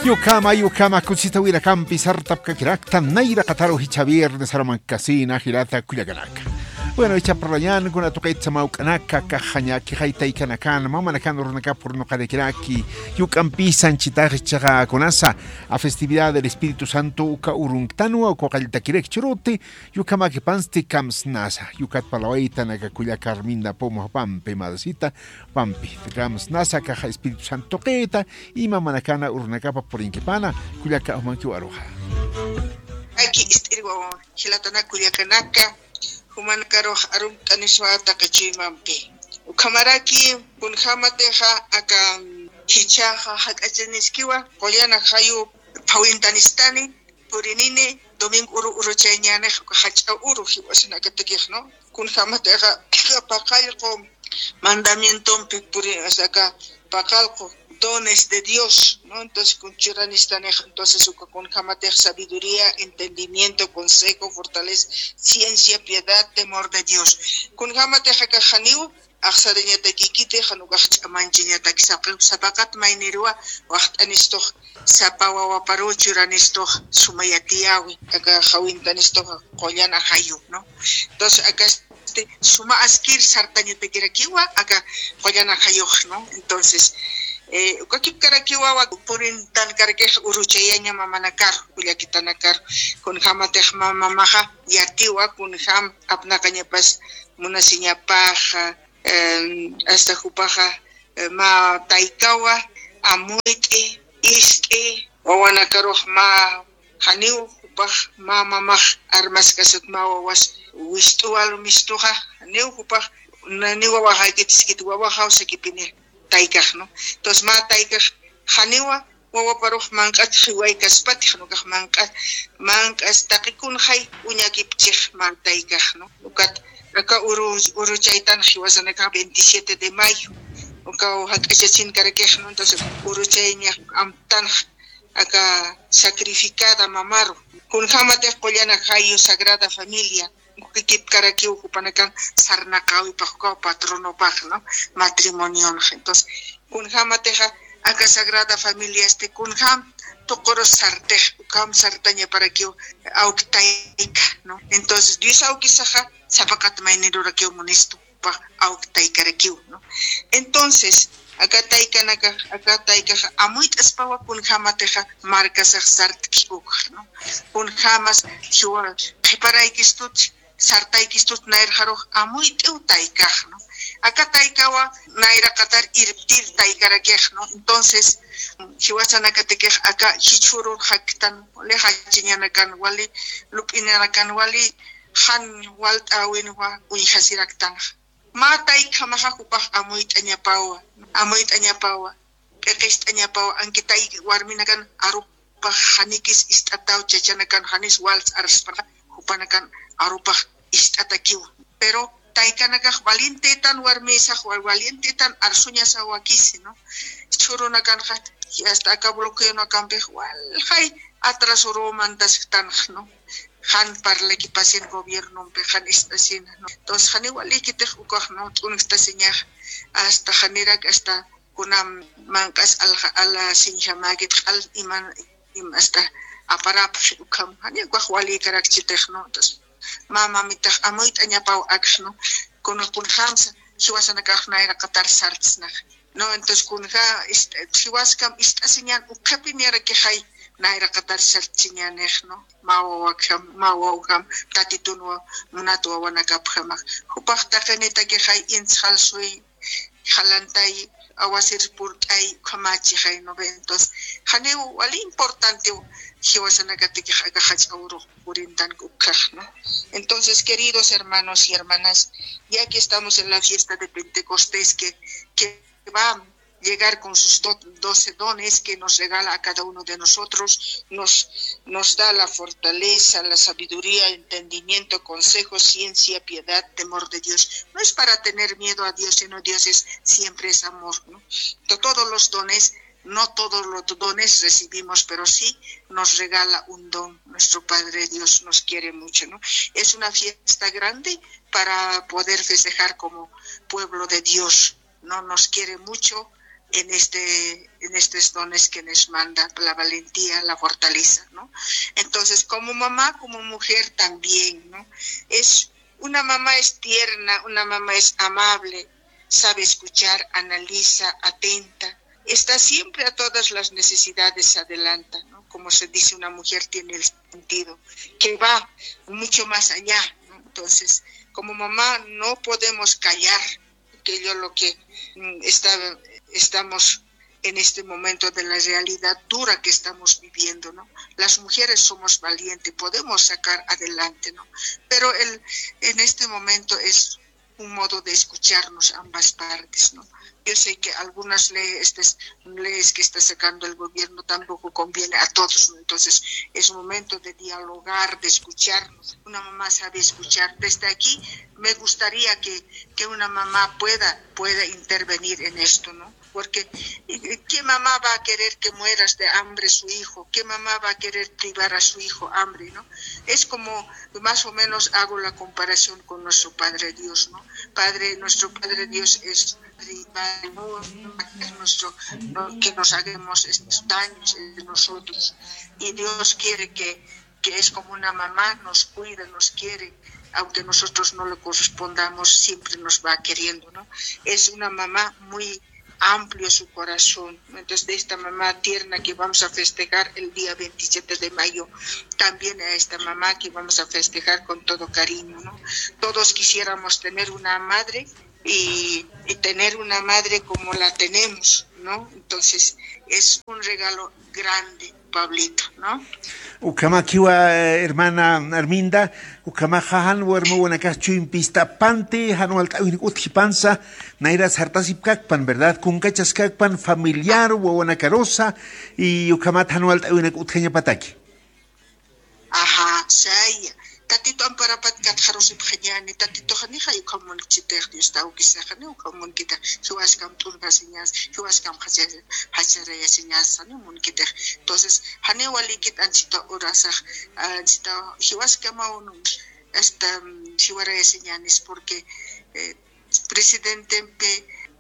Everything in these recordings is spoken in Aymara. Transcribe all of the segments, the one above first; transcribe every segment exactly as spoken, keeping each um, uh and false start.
Yukama, yukama, kusisita wirakampi sartapkakirakta, nayraqataru jichha viernes arumankasina, jilata kullakanaka. Bueno, jichha parlañan, kuna tuqit samawk'anaka, kaxañaki, jaytaykanakan, mamanakan urunakap urnuqarakiraki, yuk'ampisan chitax jichhaxa kunasa, a festividad del Espíritu Santo, uka urunktanwa, uka qalltakirak churuti, yukamakipansti kamsnasa, yukat parlawaytanaka kullaka Arminda Poma pampi, madrecita, pampi, kamsnasa, kaxa Espíritu Santo tuqita, y mamanakana urunakapa purinkipana, kullaka umankiw aruxa. Aki ist'irwa jilatana kullakanaka, jumanakarux arumt'aniswa taqi chuymampi. Ukhamaraki, kunjamatixa aka jichhaxa jak'achaniskiwa, qullana jayu phawintanistani, purinini, domingo uru uruchayñanix, uka jach'a uru jiwasanakatakix, ¿no? Kunjamatixa, paqallqu mandamientompi puri, o sea, aka paqallqu dones de Dios, ¿no? Entonces, kun churanistanix, entonces, uka kunjamatix sabiduría, entendimiento, consejo, fortaleza, ciencia, piedad, temor de Dios. Kunjamatix aka janiw, axsarañatakikiti, jan ukax ch'amanchañatak saqi, sapaqat maynirwa, waxt'anistux, sapa wawaparu churanistux, suma yatiyäwi, aka jawintanistux, qullana jayu, ¿no? Entonces, aka este, suma askir sartañatakirakiwa, aka qullana jayux, ¿no? Entonces, eh, uka kipkarakiwa, wa purintankarakix uruchayaña mamanakar, kullakitanakar, kunjamatix ma-, mamaxa yatiwa, kunjam apnaqañapas munasiñapaxa, em, hasta jupaxa, eh, mä taykawa, amuyt'i, ist'i, wawanakarux mä janiw jupax mä mamax armaskasat mä wawas wist'u walu mistuxa, janiw jupax, naniw wawaxaykitiskit wawaxaw sakipini taykax, ¿no? Entonces mä taykax janiwa wawaparux manq'at jiwaykaspatix, ¿no? Ukax manq'at, manq'as taqi kunjay uñakipchix mä taykax, ¿no? Ukat aka uru, uruchaytan jiwasanakax veintisiete de mayo, ukaw jak'achasinkarakix, ¿no? Entonces uruchayñax amtanx aka sacrificada mamaru. Kunjamatix qullana jayu Sagrada Familia, kipkarakiw jupanakan sarnaqäwipax ukaw patronopax, ¿no? Matrimonionxa. Entonces, kunjamatixa aka Sagrada Familiasti, kunjam tuquru sartix, ukham sartañaparakiw awk tayka, ¿no? Entonces, Dios awkisaxa sapaqat maynirurakiw munistu, jupax awk taykarakiw, ¿no? Entonces, aka taykanakax, aka taykaxa amuyt'aspawa kunjamatixa markasax sartki ukxa, ¿no? Kunjamas jiwa qhiparaykistut, sartaykistut nayrxarux amuyt'iw taykax, ¿no? Aka taykawa nayraqatar irptir taykarakix, ¿no? Entonces, jiwasanakatakix aka jichhürur jaktan, wali jachiñanakan wali, lup'inanakan wali, jan walt'äwinwa uñjasiraktanxa. Mä taykhamaxa jupax amuyt'añapawa, amuyt'añapawa, p'iqist'añapawa, ankitay warminakan arupax janikis ist'ataw, chachanakan janis wals arspaxa, jupanakan arupax ist'atakiwa. Pero taykanakax valientetan, warmisax wa-, valientetan arsuñasaw wakisi, ¿no? Chhurunakanxa, hasta aka bloqueonakampix walxay atrasoruw mantasktanxa, ¿no? Jan parlakipasin gobiernompi, jan ist'asin, ¿no? Entonces, janiw walikitix ukax, ¿no? T'unktasiñax, hasta janirak, hasta kuna manq'as alja-, alasiñjamäkit q'al iman, im-, hasta aparapxi ukham, janiw ukax walikarakchitix, ¿no? Entonces, mä mamitax amuyt'añapaw akx, ¿no? Kuna kunjamsa, jiwasanakax nayraqatar sartsnax. No, entonces kunja, ist-, jiwaskam ist'asiñan ukhapinirakixay nayraqatar sartsiñanix, ¿no? Mä wawakjam, mä wawjam, tatitunwa, munat wawanakapjamax. Jupax taqinitakixay intsxal suy, jalantay, awasir purt'ay, ukhamachixay, ¿no ve? Entonces, janiw wali importantew jiwasanakatakix aka jach'a urux purintank ukhax, ¿no? Entonces, queridos hermanos y hermanas, ya que estamos en la fiesta de Pentecostés, que, que va a llegar con sus do-, doce dones que nos regala a cada uno de nosotros, nos, nos da la fortaleza, la sabiduría, entendimiento, consejo, ciencia, piedad, temor de Dios. No es para tener miedo a Dios, sino Dios es, siempre es amor, ¿no? To-, todos los dones, no todos los dones recibimos, pero sí nos regala un don. Nuestro Padre Dios nos quiere mucho, ¿no? Es una fiesta grande para poder festejar como pueblo de Dios. No nos quiere mucho, en este, en estos dones que nos manda, la valentía, la fortaleza, ¿no? Entonces, como mamá, como mujer también, ¿no? Es una mamá es tierna, una mamá es amable, sabe escuchar, analiza, atenta, está siempre a todas las necesidades, se adelanta, ¿no? Como se dice, una mujer tiene el sentido que va mucho más allá, ¿no? Entonces, como mamá no podemos callar aquello lo que mm, está, estamos en este momento de la realidad dura que estamos viviendo, ¿no? Las mujeres somos valientes, podemos sacar adelante, ¿no? Pero el, en este momento es un modo de escucharnos ambas partes, ¿no? Yo sé que algunas leyes, estas leyes que está sacando el gobierno tampoco conviene a todos, ¿no? Entonces es momento de dialogar, de escucharnos. Una mamá sabe escuchar. Desde aquí me gustaría que, que una mamá pueda, pueda intervenir en esto, ¿no? Porque eh, ¿qué mamá va a querer que mueras de hambre su hijo? ¿Qué mamá va a querer privar a su hijo hambre, no? Es como más o menos hago la comparación con nuestro Padre Dios, ¿no? Padre, nuestro Padre Dios es Padre, Padre, no, no, nuestro, no, que nos hagamos estos daños entre nosotros. Y Dios quiere que, que es como una mamá, nos cuida, nos quiere, aunque nosotros no le correspondamos, siempre nos va queriendo, ¿no? Es una mamá muy amplio su corazón. Entonces, de esta mamá tierna que vamos a festejar el día veintisiete de mayo, también a esta mamá que vamos a festejar con todo cariño, ¿no? Todos quisiéramos tener una madre y, y tener una madre como la tenemos, ¿no? Entonces, es un regalo grande, Pablito, ¿no? Ukhamakiwa, eh, hermana Arminda, ukhamaxa jan warmawanakax chuympi ist'apanti, jan walt'äwinak utjipansa, nayra sartasipkakpan, ¿verdad? Kunkachaskakpan familiar, wawanakarusa, y ukhamat jan walt'äwinak utjañapataki. Ajá, saya. Tatitu amparapat katxarusipxañäni, Tatitux janixa ukham munkchitix, Dios tawkisa, janiw ukham munkitix, jiwaskam t'urjasiñas, jiwaskam jachar-, jacharayasiñas, janiw munkitix. Entonces, janiw walikit anchita urasax, anchita jiwaskamaw, hasta, mm, jiwarayasiñänis, porque, eh, presidentempi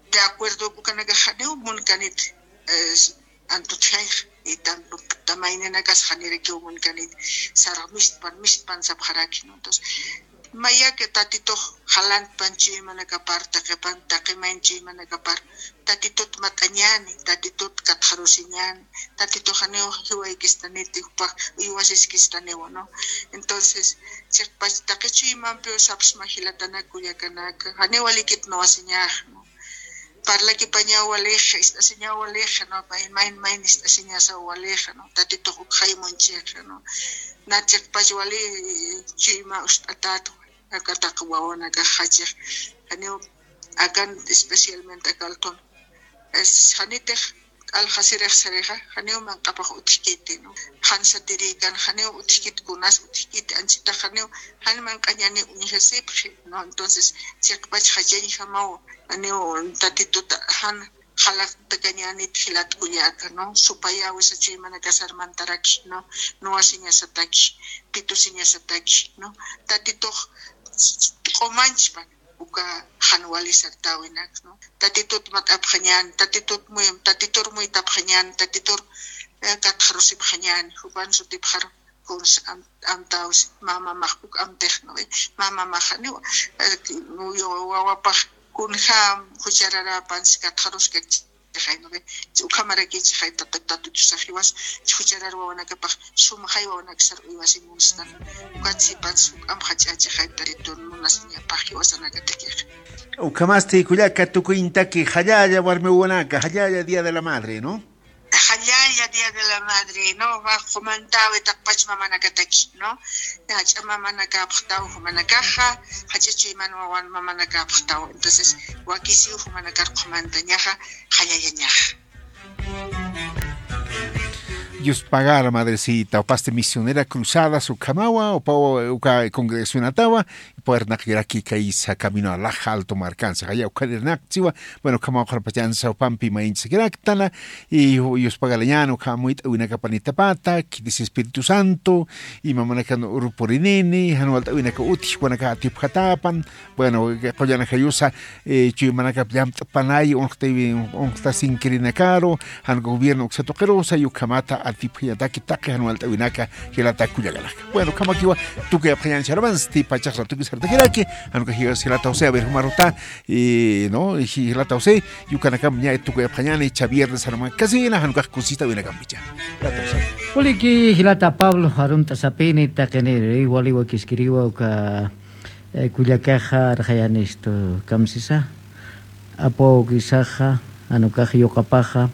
de acuerdo ukanakax janiw munkanit, eh, antutjayx, y tam-, tamayninakas janirakiw munkanit, sarx mistpan, mistpan sapxaraki, ¿no? Entonces, mayaki Tatitux jalantpan chuymanakapar, taqipan, taqimayn chuymanakapar, Tatitut mat'añäni, Tatitut katxarusiñäni, Tatitux janiw jiwaykistaniti, jupax uywasiskistaniwa, ¿no? Entonces, chiqpach taqi chuymampiw sapsma jilatanaka kullakanaka, janiw walikit nuwasiñax, ¿no? Parlakipañaw walixa, ist'asiñaw walixa, ¿no? Mayn, mayn, mayn ist'asiñasaw walixa, ¿no? Tatitux ukxay munchixa, ¿no? Na chiqpach wali chuyma ust'atätwa, aka taqi wawanakax jachix, janiw akan especialmente aka altun. Es, janitix q'al jasirix sarixa, janiw manq'apax utjkiti, ¿no? Jan satirïkan, janiw utjkit kunas utjkiti, anchitax janiw, jan manq'añäni uñjasipxi, ¿no? Entonces, chiqpach jachañjamaw, janiw Tatituta jan jalaqtakañänit jilat kullaka, ¿no? Supayäwisa chuymanakasar mantaraki, ¿no? Nuwasiñasataki, pitusiñasataki, ¿no? Tatitux q'umanchpan uka jan wali sartäwinak, ¿no? Tatitut mat'apxañän, Tatitut muy, Tatitur muytapxañän, Tatitur, eh, katxarusipxañän, jupan sutipxaru kuns am-, amtäwsi, mä mamax uk amtix, ¿no ve? Mä mamax janiw, eh, wawapax kunjam juchararäpansi katxaruskakchixay, ¿no ve? Ukhamarakichixay Tata, Tatitusax jiwas jucharar wawanakapax sumxay wawanakasar uywasi munstan. Ukat sipansi uk amxach'achixay Tatitun munasiñapax jiwasanakatakix. Ukhamasti kullaka tukuñtaki, jallalla warmi wawanaka, jallalla Día de la Madre, ¿no? Jallalla Día de la Madre, ¿no? Va, qhumantäwi taqpach mamanakataki, ¿no? Jach'a mamanakapxtaw jumanakaxa, jach'a chuyman wawan mamanakapxtaw. Entonces, wakisiw jumanakar qhumantañaxa, jallallañaxa. Dios pagara, madrecita, upasti misionera cruzadas ukhamawa, upawa uka congregacionatawa, puernak iraki kaisa camino alaja alto marcansa, jaya ukanirnaktsiwa. Bueno, ukhamawa qharpachansa upampi mainchasakiraktana, y Dios pagalañan ukhamuyt'awinakapanitapata, kitis Espíritu Santo, y mamanakan urupurinini, janwalt'awinaka utji, wanaka atipjatapan, bueno, qullana jayusa, eh, chuymanakap llamt'panay, unxtasinkirinakarux, jan gobierno uksatuqirusa, yukhamata atipjañataki taqi jan walt'awinaka, jilata kullakanaka. Bueno, khamakiwa, tukuy apxañan charamansti, pachax ratuki sartakiraki, jan uka jilata José, a ver, jumaruta, y, ¿no? Y jilata José, yukanakam ña tukuy apxañani, cha viernes arma kasina, jan uka kusita winakampicha. Jilata José. Uliki, jilata Pablo, arunt'asapini, taqiniri, waliwa kiskiriwa, uka, eh, kullakaxa rxayanistu kamsisa, apu awkisaxa, jan ukax yuqapaxa,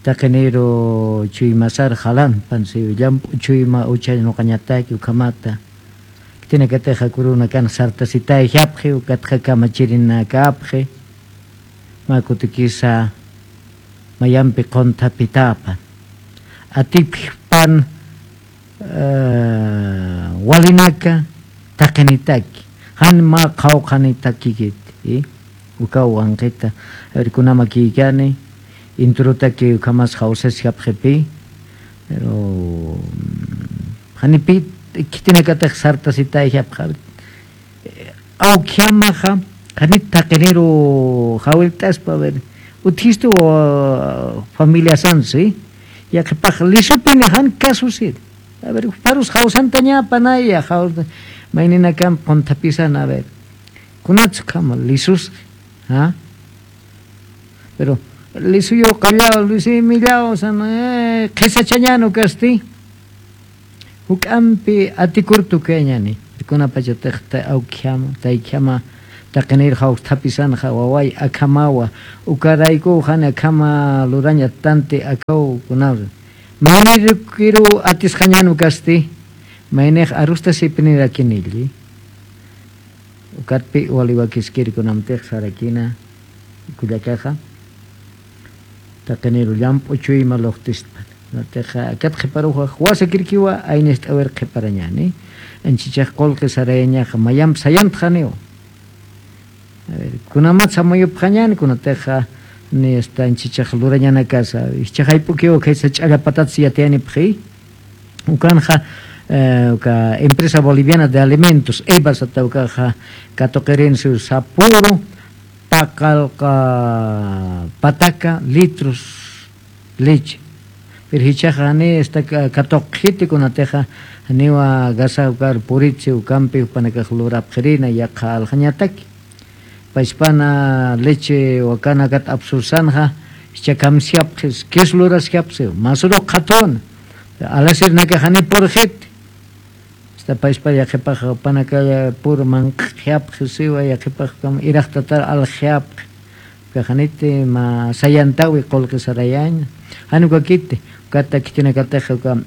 taqiniru chuymasar jalan, pansi llamp'u chuyma ucha nuqañataki ukhamata, khitinakatixa kurunakan sartasitayjapxi, ukatxa kamachirinakapxi, mä kutikisa mayampi qunthapitapan, atipjpan, eh, walinaka taqinitaki, jan mä qhawqhanitakikiti, ¿sí? Ukaw wanqita, a ver, kunamakïkani, introtaki ukhamas jawsasjapxipi, pero, mm, janipi khitinakatix sartasitayjapxa, awkjamaxa, janit taqiniru jawillt'aspa, a ver, utjistu, uh, familiasansi, yaqhipax lisupini jan casosit. A ver, parus jawsantañapanaya, jaw-, mayninakan qunthapisan, a ver, kunatsukhama lisus, ¿ah? Pero, lisuyu qallaw, lisuyu millaw, san, eh, qhisachañan ukasti. Juk'ampi atikur tukuyañani, kunapachatix ta-, awkjama, taykjama, taqinir jawsthapisanxa, waway akhamawa, ukarayku jan akhama lurañatanti akaw kunaw. Maynirukiru atisxañan ukasti, maynix arustasipinirakinilli. Ukatpi waliwakiskir kunamtix sarakina, kullakaxa, taqiniru llamp'u chuyma luqtistpan. Natixa, akat qhiparuxa, wasakirkiwa, aynist'awir qhiparañani. Anchichax qullqi sarayañaxa, mayamp sayantxaniw. A ver, kunamat samuyupxañani, kunatixa, ni hasta anchichax lurañanakasa, ichhaxayp'ukiwa, khaysa ch'allapatat si yatiyanipxi. Ukanxa, eh, uka Empresa Boliviana de Alimentos, EBA sata ukaxa, katuqirinsu sapuru, paqallqa pataka litros leche. Pero jichhaxa jani esta ka-, katuqxiti kunatixa, janiwa gasa ukar puritsi ukampi jupanakax lurapxirina yaqha aljañataki. Pachpana leche wakanakat apsursanxa, jichha kamsjapxis, kis lurasjapxi, masuru qhatun. Alasirnakax jani purxiti. Esta pachpa yaqhipax panakaya pur manq'japxi siwa, yaqhipax kam iraqtatar aljapxi. Ukax janiti mä sayantawi qullqi sarayaña. Jan ukakiti, ukata khitinakatix uka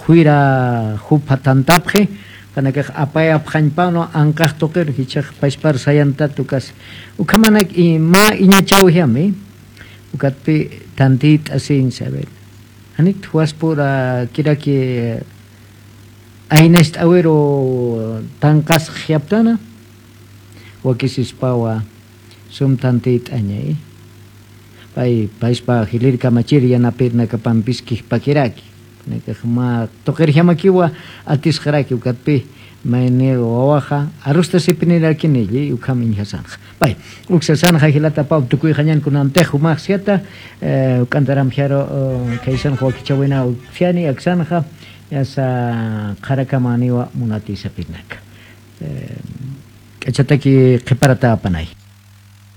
juyra jupha tantapxi, ukanakax apayapxañpanu anqax tuqir, jichhax pachpar sayantat ukas. Ukhamanak i-, mä iñachawjami, ukatpi tantit'asiñ saber. Janit juwaspura kiraki, eh, aynast'awiru tanqasxyaptana, wakisispawa sum tantit'añay. Pay, payspa jilïr kamachir yanapirnakapampis kijpakiraki. Nakax mä tuqirjamakiwa atisxaraki ukatpi, mayni wawaxa arustasipinirakinilli, ukham iñjasanxa. Pay, uksasanxa jilata Pau, tukuyxañan kunantix jumaxsiyata, eh, uk'antaramxaru, eh, khaysanxa wakichäwina utjani, aksanxa, yasa qharakamaniwa munatïsapirnaka. Eh, k'achataki qhiparatäpanay.